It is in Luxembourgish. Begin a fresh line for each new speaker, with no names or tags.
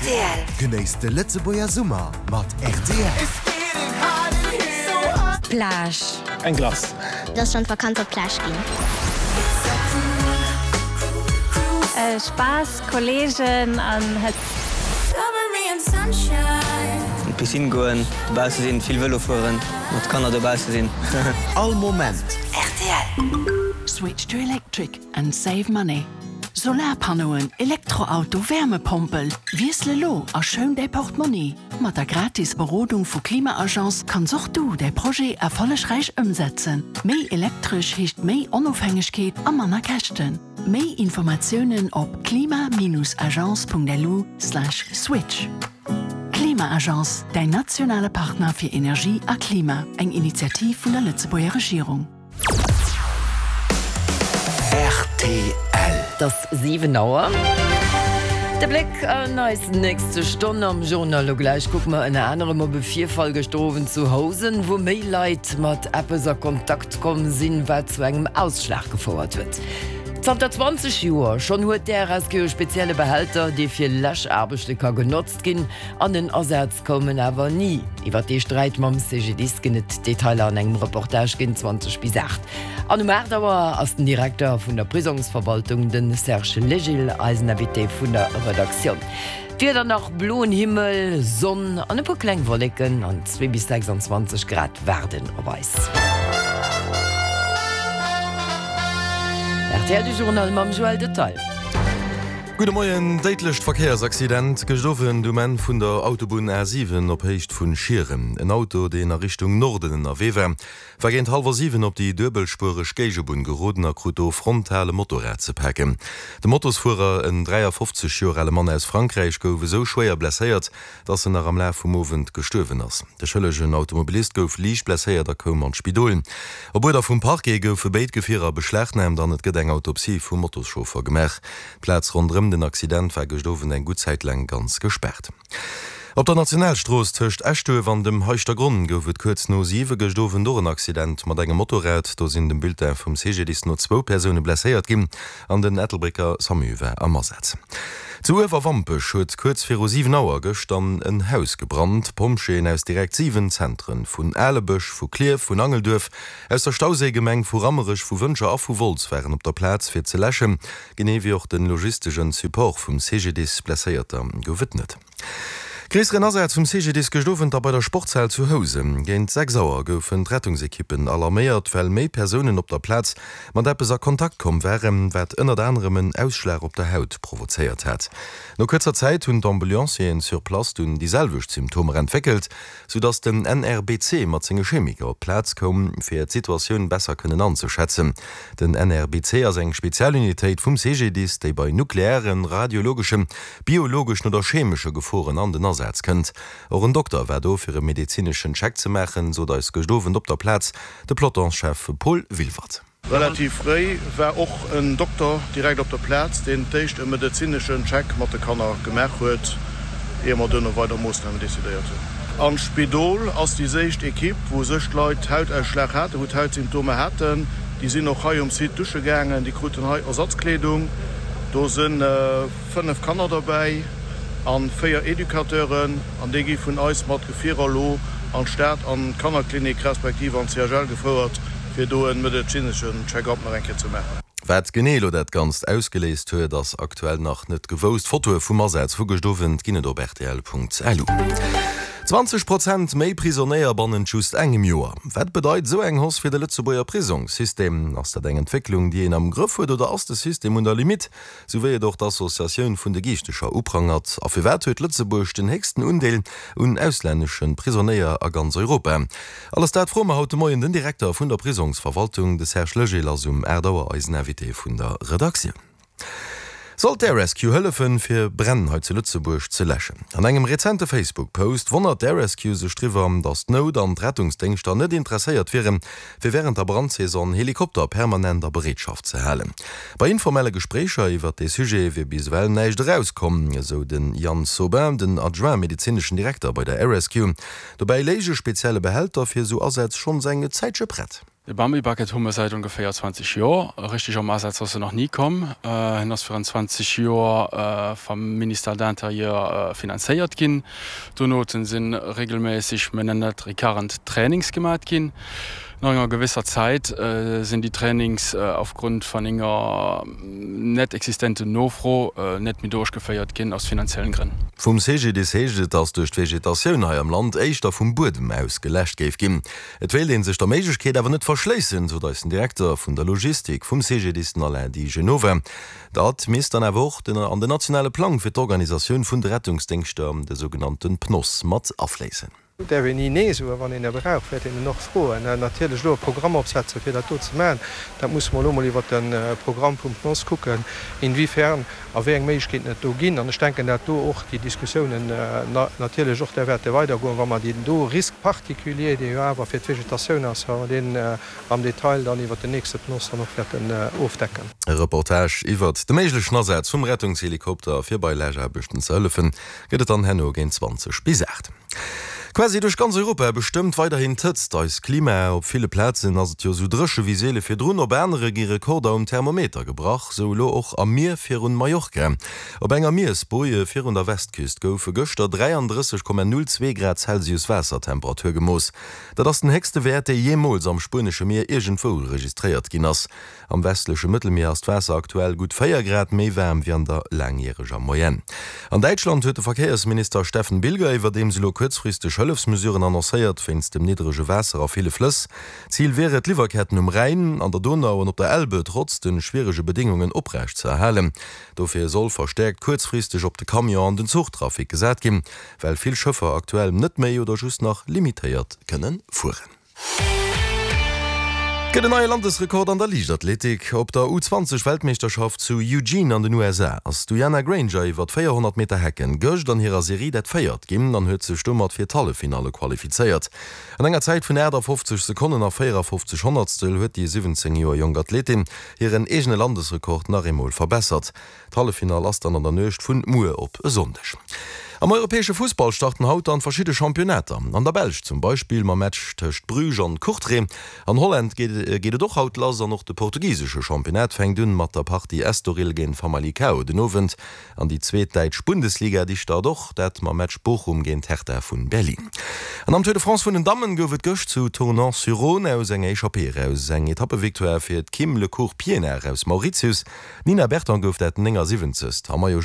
Rtl.
Genéisst de Lëtzebuerger Summer mat rtl.
Plage.
Eng Glace.
Et ass schonn d'Vakanz op d'Plage ginn.
Spaass, Kolleegen an Hëtzt.
An d'Piscine goen, dobausse sinn, vill Vëlo fueren, mat Kanner dobausse sinn.
All Moment.
Rtl.
Switch to electric and save money. Solarpannoen, Elektroauto, Wärmepompel, Wiessel elo a schoun däi Portmonni! Mat der gratis Berodung vu Klima-Agence kanns och du däi Projet erfollegräich ëmsetzen. Méi elektresch heescht méi Onofhängegkeet a manner Käschten. Méi Informatiounen op klima-agence.lu/switch. Klima-Agence, däin nationale Partner fir Energie a Klima, eng Initiativ vun der Lëtzebuerger Regierung.
Rtl.
Et ass 7 Auer. De Bléck an eis nächste Stonn am Journal. Lo gläich kucke mer ënner anerem op e Virfall gëschter Owend zu Housen, wou méi Leit mat eppes a Kontakt komm sinn, wat zu engem Ausschlag gefouert huet. Zanter 20 Joer schonn huet d'RSQ e spezielle Behälter, dee fir Läschaarbechte ka genotzt ginn. An den Asaz koum en awer ni. Iwwer dee Sträit mam CGDIS ginn et Detailer an engem Reportage géint 20 bis 8. An um 8 Auer ass den Direkter vun der Prisongsverwaltung, de Serge Legil, eisen Invité vun der Redaktioun. D'Wieder nach, bloen Himmel, Sonn an e puer kleng Wolleken an 2 bis 26 Grad waarden op eis. Rtl, de Journal mam Joël Detail.
Gudde Moien. Déidlecht Verkéiersaccident gëscht Owend um Enn vun der Autobunn A7 op Héicht vun Schieren. En Auto, deen a Richtung Norden ënnerwee war, war géint hallwer 7 op déi duebelspuereg Géigebunn geroden a krut do frontal e Motorrad ze paken. De Motosfuerer, en 53 Joer ale Mann aus Frankräich, gouf esou schwéier blesséiert, dass en nach am Laf vum Owend gestuerwen ass. De schëllegen Automobilist gouf liicht blesséiert a koum an d'Spidol. Op Uerder vum Parquet goufe béid Gefierer beschlagnaamt an et gëtt eng Autopsie vum Motoschauffer gemaach. D'Plaz ronderëm den Accident war gëscht Owend eng gutt Zäit laang ganz gespaart. Op der Nationalstrooss tëscht Eschduerf an dem Heischtergronn gouf et kuerz no 7 gëscht Owend och en Accident mat engem Motorrad. Do sinn dem Bulletin vum CGDIS no zwou Persoune blesséiert ginn. An den Ettelbrécker Samu war am Asaz. Zu Uewerwampech huet kuerz viru 7 Auer gëscht an en Haus gebrannt. Pompjeeën aus direkt 7 Zentren, vun Alebësch, vu Klierf, vun Angelduerf, aus der Stauséigemeng, vu Rammerech, vu Wëntger a vu Wolz waren op der Plaz fir ze läschen, genee wéi och de logistegen Support vum CGDIS. Blesséierter gouf et net. Gréisseren Asaz vum CGDIS gëscht Owend da bei der Sportshal zu Housen. Géint 6 Auer goufen d'Rettungsekippen alarméiert, well méi Persounen op der Plaz mat eppes a Kontakt komm waren, wat ënnert anerem en Ausschlag op der Haut provozéiert hat. No kuerzer Zäit hunn d'Ambulancieren sur place dunn déi selwecht Symptomer entwéckelt, sou dass den NRBC mat senge Chemiker op d'Plaz koum, fir d'Situatioun besser kënnen anzeschätzen. Den NRBC ass eng Spezialunitéit vum CGDIS, déi bei nuklearen, radiologeschen, biologeschen oder chemesche Geforen an den Asaz kënnt. Och en Dokter war do, fir e medezineschen Check ze maachen, sot eis gëscht Owend op der Plaz de Pelotonschef Paul Wilwert.
Relativ fréi war och en Dokter direkt op der Plaz, deen d'éischt e medezineschen Check mat de Kanner gemaach huet, ier mer duerno weider Moossnamen decidéiert hunn. An d'Spidol ass déi séicht Ekipp, wou sech d'Leit Hautausschlag haten, wou d'Hautsymptomer haten. Déi sinn och hei um Site dusche gaangen, déi kruten hei Ersatzkleedung. Do si 5 Kanner derbäi a 4 Educateuren an déi gi vun eis mat Gefierer elo an d'Stad an d'Kannerklinik respektiv an d'CHL gefouert. fir do en medezineschen Check-up nach eng Kéier ze maachen.
Wat genee elo dat Ganzt ausgeléist huet, ass aktuell nach net gewousst. Fotoe vum Asaz vu gëscht Owend ginn et op rtl.lu. 20 Prozent méi Prisonéier bannent just engem Joer. Wat bedeit esou eng Hausse fir de Lëtzebuerger Prisongssystem? Ass dat eng Entwécklung, déi een am Grëff huet oder ass de System un der Limitt? Sou wéi et och d'Associatioun vun de Giichtecher uprangert. A firwat huet Lëtzebuerg den héchsten Undeel un auslännesche Prisonéier a ganz Europa? Alles dat froe mer haut de Moien den Direkter vun der Prisongsverwaltung, de Serge Legil ass um 8 Auer eisen Invité vun der Redaktioun. Soll d'Air Rescue hëllefen, fir Bränn hei zu Lëtzebuerg ze läschen? An engem rezente Facebook-Post wonnert d'Air Rescue sech driwwer, datt d'Nout an d'Rettungsdéngschter net interesséiert wieren, fir wärend der Brandsaison Helikopter permanent a Bereetschaft ze halen. Bei informelle Gespréicher iwwert dee Sujet wier bis ewell näischt erauskomm, esou de Yann Saubin, den Adjoint medezineschen Direkter bei der Air Rescue. Dobäi léich e spezielle Behälter fir esou Asätz schonns eng Zäitche prett.
De Bambi Bucket hu mer säit ongeféier 20 Joer. Richteg am Asaz ass en nach ni komm. En ass virun 20 Joer vam Ministère de l'Intérieur finanzéiert ginn. Donoten si regelméisseg, mir nennen dat recurrent Trainings gemat ginn. No enger gewësser Zäit sinn déi Trainings aufgrund van enger net existenten Nofro net méi duerchgeféiert ginn aus finanziellen Grënn.
Vum CGDIS heescht et, datt duerch d'Vegetatioun hei am Land éischter vum Buedem aus geläscht géif ginn. Et wéilt ee sech der Méiglechkeet awer net verschléissen, sot eis den Direkter vun der Logistik vum CGDIS, den Alain Di Genova. Dat misst dann awer och den an den nationale Plang fir d'Organisatioun vun de Rettungsdéngschter, de sougenannte PNOS, mat afléissen.
Et däerf een ni Nee soen, wann een e brauch, wäert een en och froen. Natierlech elo e Programm opsetzen, fir dat do ze maachen, dat musse mer elo emol iwwert de Programm vum PNOS kucken, inwiefern a wéi eng Méiglechkeeten et do ginn. An ech denken, dat do och déi Diskussiounen natierlech och da wäerte weidergoen, wa mer deen do Risque particulier, dee jo awer fir d'Vegetatioun ass, wa mer deen am Detail dann iwwert den nächste PNOS dann och wäerten ofdecken.
E Reportage iwwert de méiglechen Asaz vum Rettungshelikopter fir bei Läschaarbechten ze hëllefen, gëtt et dann herno géint 20 bis 8. Quasi duerch ganz Europa bestëmmt weiderhin d'Hëtzt eist Klima. Op ville Plazen ass et jo esou dréche wéi seele virdrun, op anere gi Rekorder um Thermometer gebrach. Sou elo och am Mier virun Mallorca. Op enger Miersboje virun der Westküst goufe gëschter 33,02 Grad Celsius Waassertemperatur gemooss. Dat ass den héchste Wäert, dee jeemools am spuenesche Mier iergendwou registréiert ginn ass. Am westleche Mëttelmier ass d'Waasser aktuell gutt 4 Grad méi waarm wéi an der laangjäreger Moyenne. An Däitschland huet de Verkéiersminister Steffen Bilger iwwerdeems elo kuerzfristeg Hëllefsmesuren annoncéiert wéinst dem niddrege Waasser a ville Flëss. Zil wier et, d'Liwwerketten um Rhäin, an der Donau an op der Elbe trotz de schwierege Bedéngungen oprecht ze erhalen. Dofir soll verstäerkt kuerzfristeg op de Camion an den Zuchtrafic gesat ginn, well vill Schëffer aktuell net méi oder just nach limitéiert kënne fueren. Et gëtt en neie Landesrekord an der Liichtathletik. Op der U20 Weltmeeschterschaft zu Eugene an den USA ass d'Uyana Granger iwwer 400 Meter Hecken gëscht an hirer Serie dat véiert ginn an huet sech domat fir d'Halleffinalle qualifizéiert. An enger Zäit vun 58 Sekonnen a 54 Honnertstel huet déi 17 Joer jonk Athletin hiren eegene Landesrekord nach eemol verbessert. D'Halleffinall ass dann an der Nuecht vun muer op e Sonndeg. Am europäesche Fussball starten haut dann verschidde Championnater. An der Belsch zum Beispill mam Match tëscht Bruges an Courtrai. An Holland geet et och haut lass an och de portugisesche Championnat fänkt un mat der Partie Estoril géint Famalicao den Owend. An déi zweet däitsch Bundesliga, déi start och, dat mam Match Bochum géint Hertha vun Berlin. An am Tour de France vun den Dammen gouf et gëscht zu Tournon-sur-Rhône aus enger Echappée eraus eng Etappevictoire fir d'Kim Le Court-Pienaar aus Mauritius. D'Nina Berton gouf dat 79. am Maillot.